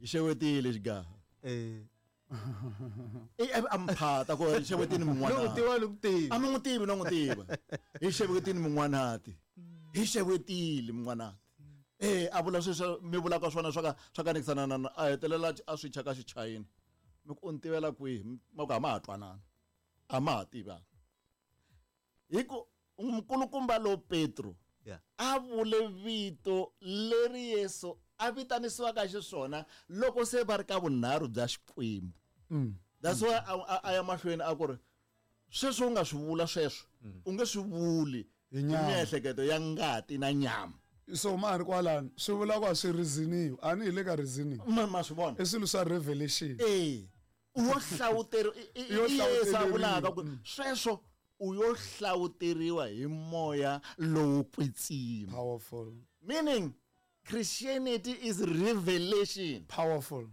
hi xewetile xigaha. A mphata ku hi xewetini Loko min'wana. tiva loko tivi. A mi n'wi tivi no n'wi tiva. Hi xewetini min'wanati. Hi xewetile min'wanati. A vula sweswo mi vulaka swona swa ka swa kanekisana na a hetelela a swi chaka xichayina. Mi ku u ni tivela kwihi? Ma ku a ma ha twanana. A ma ha tivani. Hi ku nkulukumba lo Petro a vule vito leri Yesu a vitanisiwaka xiswona loko se va ri ka vunharhu bya Xikwembu. That's why a ya mahlweni a ku ri sweswo u nga swi vula sweswo u nge swi vuli Hi hi nyama. miehleketo ya ngati na nyama. So ma ha ri kwalano swi vula ku a swi reasoniwi a ni hi le ka reasoning. Ma swi vona? I swilo swa revelation. U yo hlawuteriwa Yo i Yesu a vulaka hlawuteriwa. ku sweswo u yo hlawuteriwa hi moya lowo kwetsima. Powerful. Meaning Christianity is revelation. Powerful.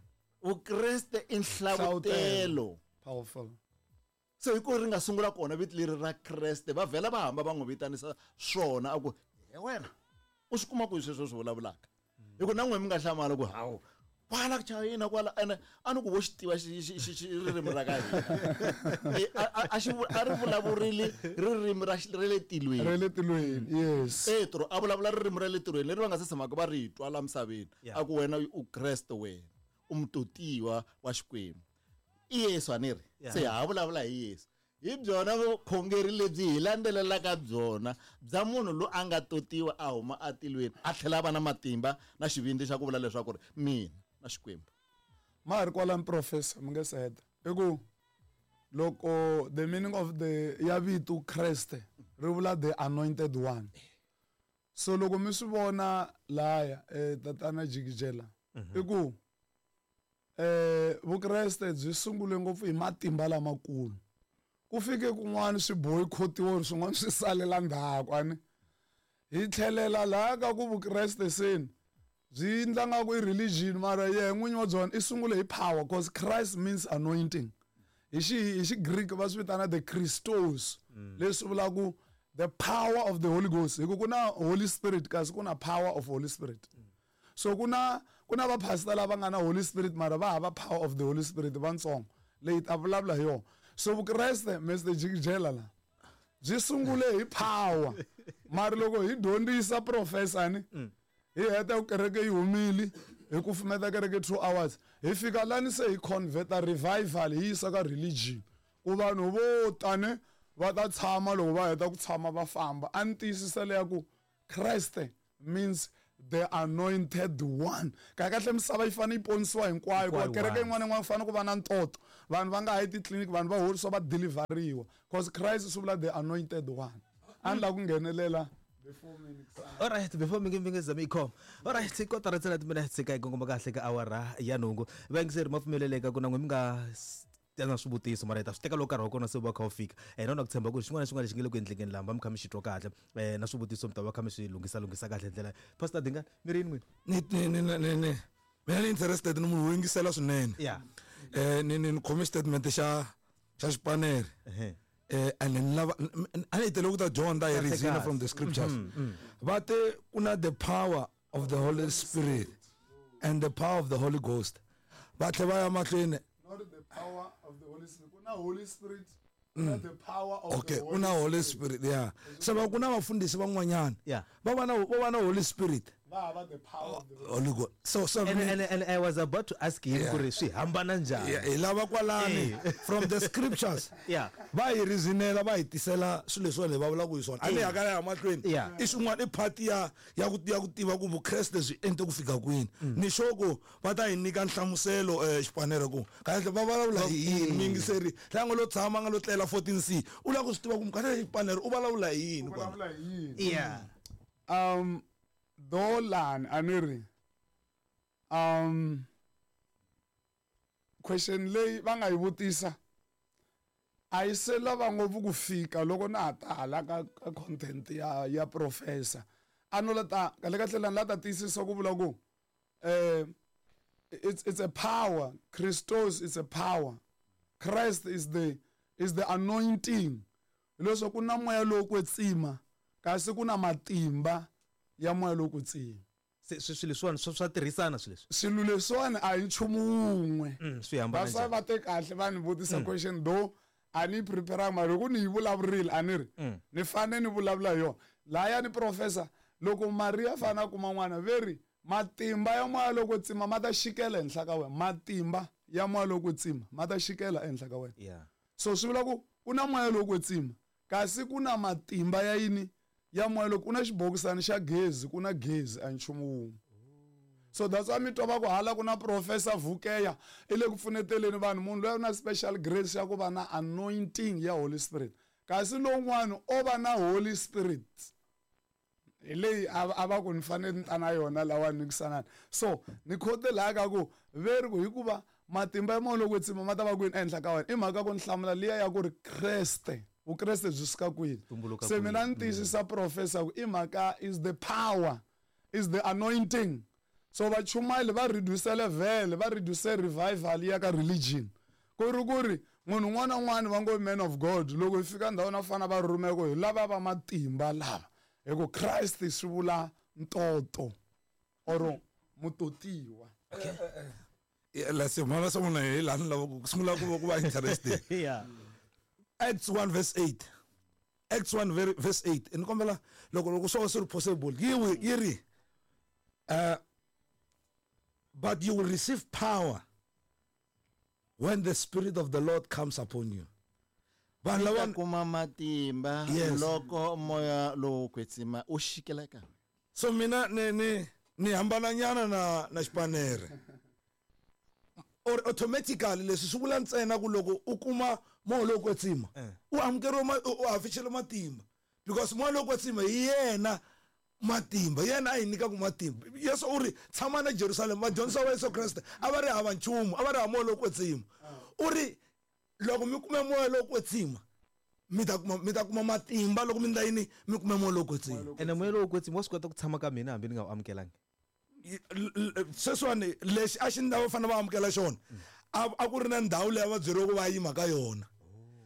Vukreste i nhlavutelo. Powerful. So hi ku ri nga sungula kona vito leri ra Kreste va vhela va hamba va n'wi vitanisa swona a ku he wena u swi kuma kwihi sweswo swi vulavulaka. Hi ku na n'we mi nga hlamala ku hawu kwala China kwala ene a ni ku vo xi tiva ririmi ra ka hina. A ri vulavurile ririmi ra ra le tilweni. Ra le tilweni, yes. Petro a vulavula ririmi ra le tilweni leri va nga se tshamaka va ri twa la misaveni. A ku wena u Kreste wena, u mutotiwa wa Xikwembu. I Yesu a ni ri. Se ha vulavula hi Yesu. Hi byona vukhongeri lebyi hi landzelelaka byona bya munhu loyi a nga totiwa a huma atilweni a tlhela a va na matimba na xivindzi xa ku vula leswaku ri mina na Xikwembu. Ma ha ri kwalano professor mi nge se heta. I ku loko the meaning of the ya vito Kreste ri vula the anointed one. So loko mi swi vona laya tatana Jikijela i ku Vukreste byi sungule ngopfu hi matimba lamakulu. Ku fike kun'wana swi boycottiwa swin'wana swi salela ndzhaku ani. Hi tlhelela laha ka ku Vukreste seni byi endla nga ku i religion mara yehe n'winyi wa byona i sungule hi power cause Christ means anointing. Hi xi Greek va swi vitana the Christos leswi vulaka the power of the Holy Ghost. Hi ku ku na Holy Spirit kasi ku na power of Holy Spirit. So ku na va pastor lava nga na Holy Spirit mara va hava power of the Holy Spirit vantsongo leyi ta vulavula hi yona. So Vukreste Mr Jikijela la byi sungule hi power mara loko hi dyondzisa professor ni hi heta ku kereke yi humile hi kufumeta kereke 2 hours hi fika lani se hi converta revival hi yisa ka religion ku vanhu vo tane va ta tshama loko va heta ku tshama va famba. A ni tiyisisa leya ku Kreste means the anointed one. Kahle kahle misava yi fanele yi ponisiwa hinkwayo hikuva kereke yin'wana na yin'wana ku fanele ku va na ntoto. Vanhu va nga ha yi titliliniki, vanhu va horisiwa va deliveriwa cause Christ swi vula the anointed one. A ni lava ku nghenelela before minutes. All right, before mi nge zami khoma. All right, kotara ntsena timinetse ka kongoma kahle ka awara ya nhungu. Vayingiseri ma pfumeleleka ku na n'we mi nga tena swivutiso mara hi ta swi teka loko nkarhi wa kona se wu va kha wu fika. Na ku tshemba ku xin'wana na xin'wana lexi nge le ku endlekeni laha mi kha mi xi twa kahle. Na swivutiso mi ta va kha mi swi lunghisa kahle ndlela. Pastor Dingani, mi ri yini n'wina? Ni mina ni interested ni munhu wo yingisela swinene. Ni khome statement xa xipanere. And ni lava a ni tele ku ta dyondza hi reason from the scriptures. Va te ku na the power of the Holy Spirit and the power of the Holy Ghost. Va tlhe va ya mahlweni. Not the power of the Holy Spirit. Kuna Holy Spirit, kuna the power of the Holy kuna Holy Spirit, yeah. Se va kuna vafundhisi van'wanyana. Va va na Holy Spirit. Va va the power of the Holy Ghost. So and I was about to ask him ku ri swi hambana njhani. Yeah, hi lava kwalani from the scriptures. Va hi reasonela, va hi tisela swilo leswiwani hi va vulaka hi swona. A ni hakela ya mahlweni. I swin'wana i part ya ku tiva ku Vukreste byi ente ku fika kwini. Ni sure ku va ta hi nyika nhlamuselo xipanere ku kahle va vulavula hi yini muyingiseri la nga lo tshama nga lo tlela 14C u lava ku swi tiva ku kahle xipanere u vulavula hi yini kwala. Vulavula hi yini? Dolan aniri question leyi va nga yi vutisa a yi se lava ngopfu ku fika loko na ha tala ka content ya professor a no la ta kahle kahle lani la ta tiyisisa ku vula ku it's a power. Christos is a power. Christ is the anointing. Leswaku ku na moya lowo kwetsima kasi ku na matimba ya moya lowo kwetsima. Se swilo leswiwani swa tirhisana swilo leswi. Swilo leswiwani a hi nchumu wun'we. Swi hambana That's why njhani? va te kahle va ni vutisa question though a ni yi prepare-anga mara loko ni yi vulavurile a ni ri ni fane ni vulavula hi yona. Lahaya ni professor loko Maria a fane a kuma n'wana ve ri matimba ya moya lowo kwetsima ma ta xikela ehenhla ka wena. Matimba ya moya lowo kwetsima ma ta xikela ehenhla ka wena. So swi vula ku ku na moya lowo kwetsima kasi ku na matimba ya yini ya moya lowu ku na xibokisana xa gezi ku na gezi a nchumu wun'we. So that's why mi twa va ku hala ku na professor Vukeya i le ku pfuneteleni vanhu munhu loyi u na special grace ya ku va na anointing ya Holy Spirit kasi lowun'wana o va na Holy Spirit hi leyi a va ku ni fanele ni ta na yona lawa ni kusanani. So ni khote laha ka ku ve ri ku hikuva matimba ya moya lowo kwetsima ma ta va kwini ehenhla ka wena i mhaka ku ni hlamula liya ya ku ri Kreste Vukreste byi suka kwini. Tumbuluka Se mina kwini. ni tiyisisa professor ku i mhaka is the power is the anointing. So vachumayeli va reduce vhele va reduce revival ya ka religion ku ri ku ri munhu un'wana na un'wana va ngo man of God loko hi fika ndhawini va fana va rhumeka hi lava va matimba lava hi ku Christ swi vula ntoto or mutotiwa. Okay. Yeah, la se mona sa mona hi laha ni lava ku sungula ku va ku va interested. Acts 1 verse 8. Acts 1 verse 8. Ni kombela loko loko swo swi ri possible yi yi ri but you will receive power when the spirit of the Lord comes upon you. Vanhu Mi ta lava kuma matimba Yes. loko moya lowo kwetsima u xikela ka. So mina ni ni ni hambananyana na na xipanere. Or automatically leswi swi vula ntsena ku loko u kuma moya lowo kwetsima u amukeriwa u hafixele matimba because moya lowo kwetsima hi yena matimba yena a hi nyikaka matimba. Yesu u ri tshama na Jerusalem vadyondzisiwa va Yesu Kreste a va ri hava nchumu a va ri hava moya lowo kwetsima. U ri loko mi kume moya lowo kwetsima mi ta kuma matimba loko mi ndla yini mi kume moya lowo kwetsima. Ene moya lowo kwetsima wa swi kota ku tshama ka mina hambi ni nga wu amukelangi. Sweswiwani lexi a xi ndla va fanele va amukela xona a ku ri na ndhawu leyi a va byeriweke va yima ka yona.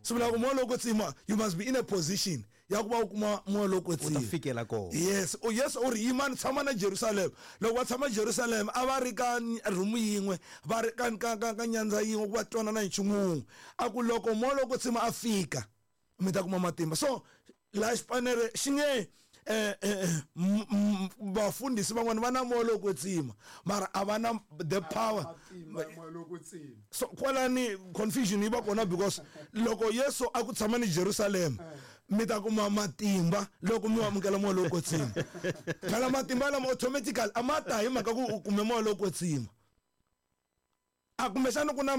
Swi vula ku moya lowo kwetsima you must be in a position ya ku va u kuma moya lowo kwetsima. U ta fikela kona. Yes, yes u ri yimani tshama na Jerusalem. Loko va tshama Jerusalem a va ri ka room yin'we va ri ka ka ka ka nyandza yin'we ku va twanana hi nchumu wun'we. A ku loko moya lowo kwetsima a fika mi ta kuma matimba. So laha xipanere xi nge vafundhisi van'wana va na moya lowo kwetsima mara a va na the power. So kwalani confusion yi va kona because loko Yesu a ku tshama ni Jerusalem mi ta kuma matimba loko mi amukela moya lowo kwetsima. Phela matimba lama automatically a ma ta hi mhaka ku u kume moya lowo kwetsima. A kumbexana ku na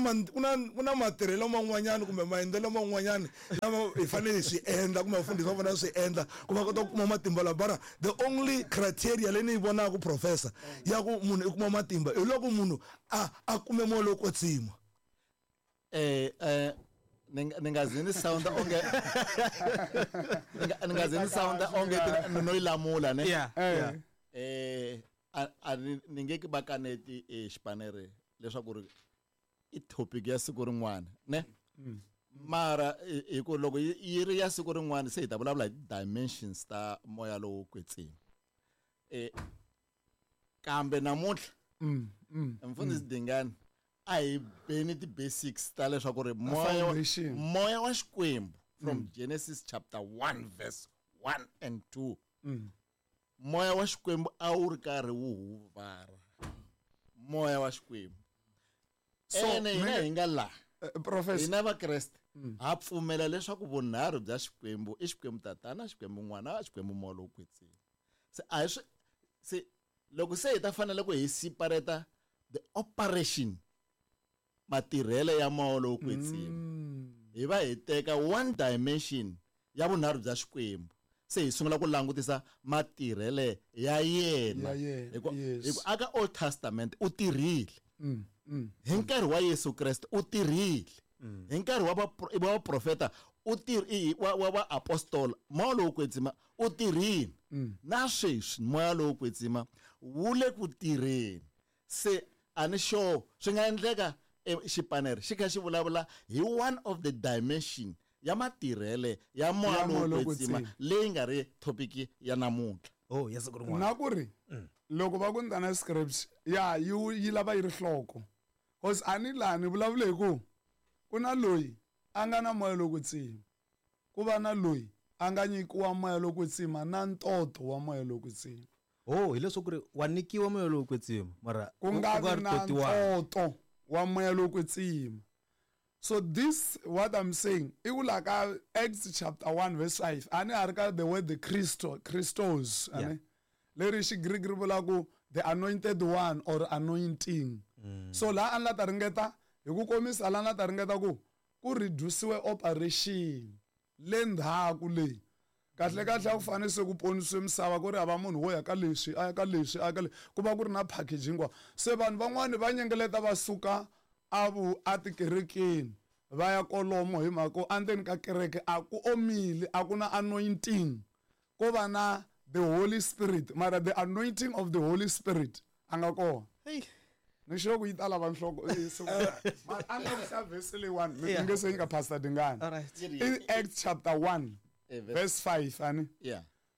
ku na matirhelo man'wanyana kumbe maendlelo man'wanyana lama hi fanele hi swi endla kumbe vafundhisi va fanele swi endla ku va kota ku kuma matimba lawa. Bara the only criteria leyi ni yi vonaka professor ya ku munhu i kuma matimba hi loko munhu a kume moya lowo kwetsima. Ni nga zi ni sound onge ni nga zi ni sound onge no yi lamula ne. A ni nge ki va kaneti xipanere leswaku ri i topic ya siku rin'wana ne. Mara hi ku loko yi ri ya siku rin'wana se hi ta vulavula hi dimensions ta moya lowo kwetsima. Kambe namuntlha mfundhisi Dingani a hi beni ti basics ta leswaku ri moya wa Xikwembu from Genesis chapter 1 verse 1 and 2. Moya wa Xikwembu a wu ri karhi wu huvara. Moya wa Xikwembu. So ene hina hi nga laha professor hina Vakreste ha pfumela leswaku vunharhu bya Xikwembu i Xikwembu Tatana, Xikwembu N'wana, Xikwembu Moya lowo Kwetsima. Se a hi swi se loko se hi ta fanele ku hi separate the operation matirhelo ya moya lowo kwetsima. Hi va hi teka one dimension ya vunharhu bya Xikwembu. Se hi sungula ku langutisa matirhele ya yena. Hi ku aka Old Testament u tirhile. Hi nkarhi wa Yesu Kreste u tirhile. Hi nkarhi wa vaprofeta u wa vaapostola moya lowo kwetsima u tirhile. Na sweswi moya lowo kwetsima wu le ku tirheni. Se a ni sure swi nga endleka xipanere xi kha xi vulavula hi one of the dimension ya matirhele ya moya lowo kwetsima leyi nga ri topic ya namuntlha. Oh, ya siku rin'wana. Na ku ri Loko va ku ni ta na scripts, ya yi lava yi ri hloko. Cause a ni laha ni vulavule hi ku ku na loyi a nga na moya lowo kwetsima, ku va na loyi a nga nyikiwa moya lowo kwetsima na ntoto wa moya lowo kwetsima. Oh, hileswaku ri wa nyikiwa moya lowo kwetsima mara ku nga vi na ntoto wa moya lowo kwetsima. So this what I'm saying i ku la ka Acts chapter 1 verse 5 a ni ha ri ka the word the Christo, Christos ani leri Xigriki ri vula ku the anointed one or anointing. So laha a ni la ta ringeta hi ku komisa laha ni la ta ringeta ku ku reduciwe operation le ndzhaku leyi kahle kahle a ku fanele se ku ponisiwe misava ku ri hava munhu wo ya ka leswi a ya ka leswi a ya ka leswi ku va ku ri na package hinkwayo. Se vanhu van'wani va nyengeleta va suka a vu a tikerekeni va ya kolomo hi mhaka ku endzeni ka kereke a ku omile, a ku na anointing, ko va na the Holy Spirit mara the anointing of the Holy Spirit a nga kona. Ni sure ku yi ta lava nhloko mara a ni la ku hlaya verse leyiwani mi nge se nyika Pastor Dingani. I Acts chapter 1 verse 5 ani.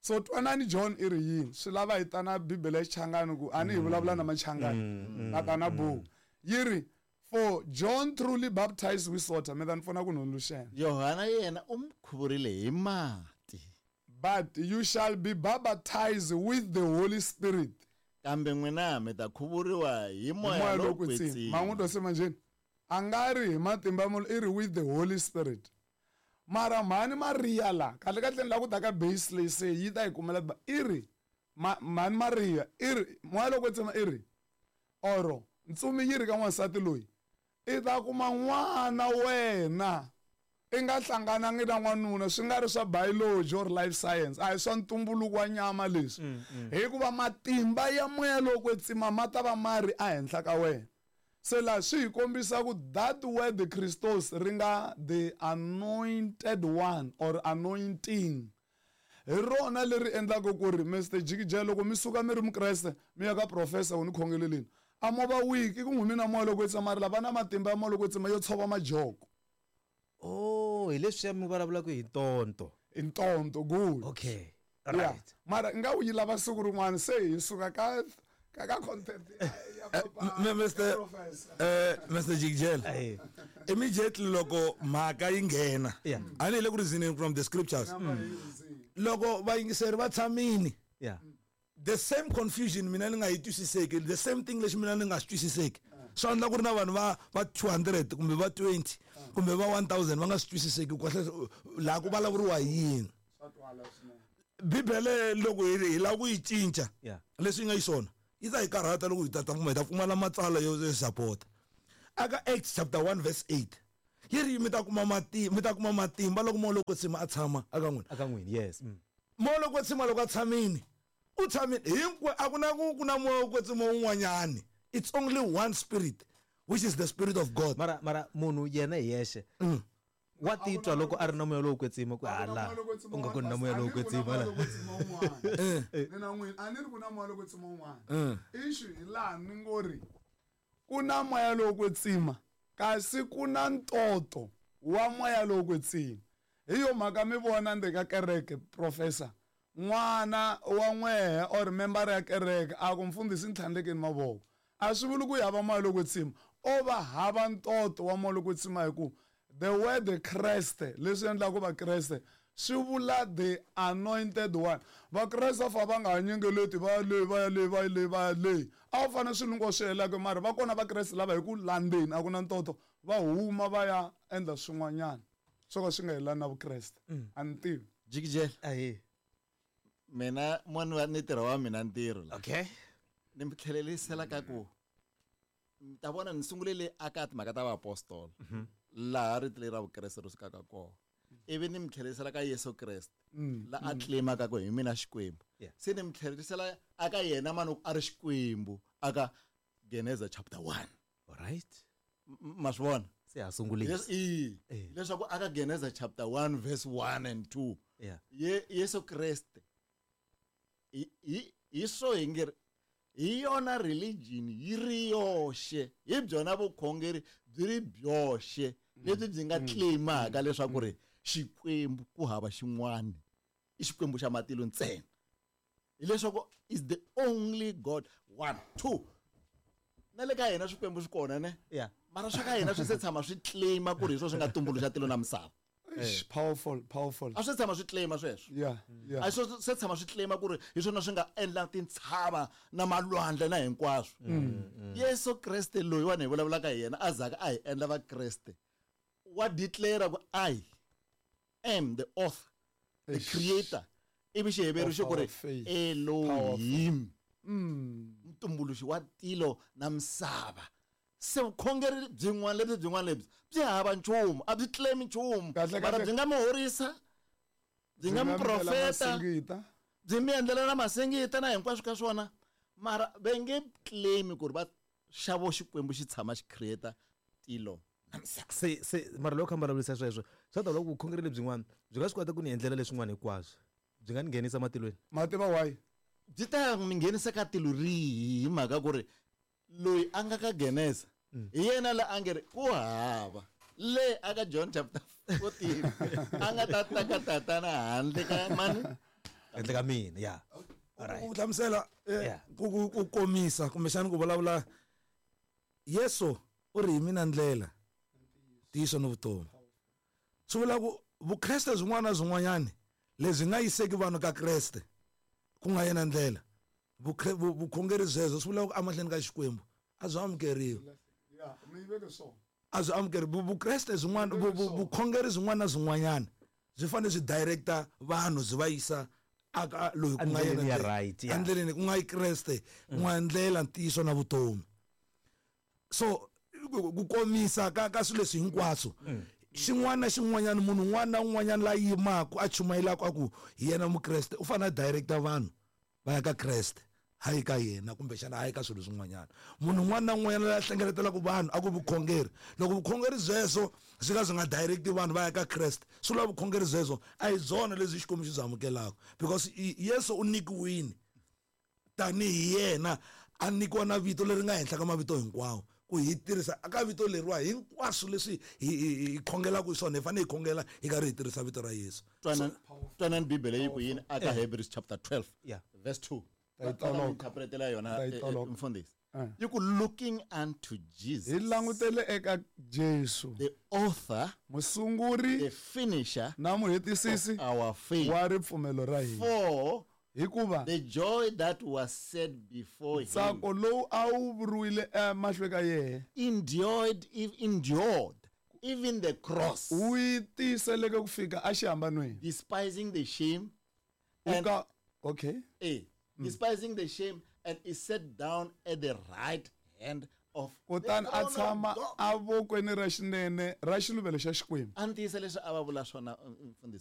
So twanani John i ri yini swi lava hi ta na Bibele ya Xichangani ku ani hi vulavula na Machangani na ta na buku yi ri for John truly baptized with water. Mi ta ni pfuna ku ni hundzuluxela. Yohana yena u mi khuvurile hi mati. But you shall be baptized with the Holy Spirit. Kambe n'wina mi ta khuvuriwa hi moya lowo kwetsima. Ma n'wi twa se manjheni? A nga ri hi matimba munhu, i ri with the Holy Spirit. Mara mhani Maria la, kahle kahle ni lava ku ta ka base leyi se yi ta yi kumela i ri mhani Maria i ri moya lowo kwetsima i ri oro ntsumi yi ri ka n'wansati loyi i ta kuma n'wana wena i nga hlanganangi na n'wanuna, swi nga ri swa biology or life science, a hi swa ntumbuluko wa nyama leswi, hikuva matimba ya moya lowo kwetsima ma ta va ma ri ehenhla ka wena. Se laha swi hi kombisa ku that word Christos ri nga the anointed one or anointing hi rona leri endlaka ku ri Mr Jikijela loko mi suka mi ri Mukreste mi ya ka professor ku ni khongeleleni a mo va weak i ku n'wi mina moya loko kwetsima mara lava na matimba ya moya loko kwetsima yo tshova majoko. Oh, hi leswiya mi vulavulaka hi ntonto. Hi ntonto, good. Okay. Yeah. Right. Mara nga u yi lava siku rin'wana se hi suka ka ka content ya papa Mr. Mr. Jikijela. Immediately loko mhaka yi nghena. A ni hi le ku reasoning from the scriptures. Loko vayingiseri va tshamini. The same confusion mina ni nga yi twisiseki, the same thing lexi mina ni nga swi twisiseki. Swi endla ku ri na vanhu va 200 kumbe va 20 kumbe va 1000 va nga swi twisiseki kahle laha ku vulavuriwa yini. Bibele loko hi lava ku yi cinca leswi nga xiswona yi ta hi karhata loko hi ta hi ta pfumala matsalwa yo support. Aka Acts chapter 1 verse 8 yi ri mi ta kuma matimba loko moya lowo kwetsima a tshama aka n'wina. Aka n'wina, yes. Moya lowo kwetsima loko a tshamini, u tshamini hinkwe a ku na ku na moya wo kwetsima wun'wanyani. It's only one spirit, which is the spirit of God. Mara munhu yena hi yexe wa titwa loko a ri na moya lowo kwetsima ku hala u nga ku na moya lowo kwetsima la. Ni na n'wina a ni ri ku na moya lowo kwetsima un'wana. Issue hi laha ni ngo ri ku na moya lowo kwetsima kasi ku na ntoto wa moya lowo kwetsima. Hi yo mhaka mi vona ndzeni ka kereke professor n'wana wa n'wehe or member ya kereke a ku mfundhisi ntlhandlekeni mavoko a swi vuli ku hava moya lowo kwetsima o va hava ntoto wa moya lowo kwetsima hi ku the word Kreste leswi endlaka Vakreste swi vula the anointed one. Vakreste fa va nga ha nyengeleti va ya le va ya le va ya le va ya le a wu fanele swilo hinkwaswo swi helaka mara va kona Vakreste lava hi ku landzeni a ku na ntoto va huma va ya endla swin'wanyana swo ka swi nga helani na Vukreste. A ni tivi. Jikijela. Mina mwana wa ni ntirho wa mina ntirho la. Okay. Ni mi tlhelerisela ka ku ta vona ni sungule le aka timhaka ta vaapostola laha rito leri ra Vukreste ri sukaka kona. Ivi ni mi tlhelerisela ka Yesu Kreste la a claimaka ku hi mina Xikwembu. Se ni mi tlhelerisela aka yena mani a ri Xikwembu aka Geneza chapter 1. All right. Ma swi vona? Se ha sungulisa. Leswaku aka Geneza chapter 1 verse 1 and 2. Yesu Kreste hi swo hi nge hi yona religion yi ri yoxe, hi byona vukhongeri byi ri byoxe lebyi byi nga claimaka leswaku ri Xikwembu ku hava xin'wana i Xikwembu xa matilo ntsena. Hileswaku is the only God. 1, 2. Na le ka hina swikwembu swi kona ne? Yeah. Mara swa ka hina swi se tshama swi claima ku ri hi swona swi nga tumbuluxa tilo na misava. Eish, powerful, powerful. A swi tshama swi claima sweswo. Yeah. A swi se tshama swi claima ku ri hi swona swi nga endla tintshava na malwandle na hinkwaswo. Yesu Kreste loyiwani hi vulavulaka hi yena a zaka a hi endla Vakreste. Wa declare ku I am the author, the Eish. creator. Ivi Xiheveru xi ku ri Of our faith. Elohim. Mutumbuluxi wa tilo na misava. Se vukhongeri byin'wana lebyi byin'wana lebyi byi hava nchumu, a byi claim nchumu. Kahle, Mara kahle. byi nga mi horisa, byi nga mi endlela profeta, masingita. byi mi endlela na masingita na hinkwaswo ka swona. Mara va nge claim ku ri va xavo Xikwembu xi tshama xi create tilo na misava. Se mara loko kha mi vulavurisa sweswo, swa ta loko vukhongeri lebyin'wana byi nga swi kota ku ni endlela leswin'wana hinkwaswo, byi nga ni nghenisa matilweni. Ma tiva why? Byi ta mi nghenisa ka tilo rihi hi mhaka ku ri loyi a nga ka Genesa hi yena la a nge ri ku hava le aka John chapter 14 a nga ta ta ka tatana handle ka mani Handle ka mina, yeah. Alright. Ku hlamusela, Yeah. ku komisa kumbexana ku vulavula Yesu u ri hi mina ndlela, ntiyiso ni vutomi. Swi vula ku Vukreste byin'wana na byin'wanyani lebyi nga yiseki vanhu ka Kreste ku nga yena ndlela, vukhongeri byebyo swi vula ku emahlweni ka Xikwembu a byi amukeriwi. Yeah, mi yi veke swona. A byi amukeriwi. Vukreste byin'wana, vukhongeri byin'wana na byin'wanyana byi fanele byi directa vanhu byi va yisa aka loyi ku nga yena Endleleni ya ndlela. right, yeah. Endleleni ku nga yi Kreste, ku nga ndlela, ntiyiso na vutomi. So ku komisa ka swilo leswi hinkwaswo, xin'wana na xin'wanyana, munhu un'wana na un'wanyana la yimaka a chumayelaka a ku hi yena Mukreste u fanele a directa vanhu va ya ka Kreste, hayi ka yena kumbexana hayi ka swilo swin'wanyana. Munhu un'wana na un'wanyana la hlengeletelaka vanhu a ku vukhongeri, loko vukhongeri byebyo byi ka byi nga directi vanhu va ya ka Kreste, swi vula vukhongeri byebyo a hi byona lebyi Xikwembu xi byi amukelaka, because Yesu u nyikiwile tanihi yena a nyikiwa na vito leri nga henhla ka mavito hinkwawo, ku hi tirhisa aka vito leriwa hinkwaswo leswi hi khongelaka hi swona, hi fanele hi khongela hi karhi hi tirhisa vito ra Yesu. Twanani Bibele yi ku yini aka Hebrews chapter 12, Yeah. verse 2. Ta yi toloka. Interpretela yona, Ta yi toloka. mfundhisi. Yi ku looking unto Jesus. Hi langutele eka Jesu. The author, Musunguri, the finisher na muhetisisi of our faith. wa ripfumelo ra hina. For Hikuva the joy that was set before him ntsako lowu a wu vuriwile emahlweni ka yena endured, if endured even the cross, wu yi tiyiseleke ku fika exihambanweni. despising the shame, U and ka okay. Despising the shame, and is set down at the right hand of the Kutani a throne of tshama God. evokweni ra xinene ra xiluvelo xa Xikwembu. A ni tiyisa leswi a va vula swona, mfundhisi.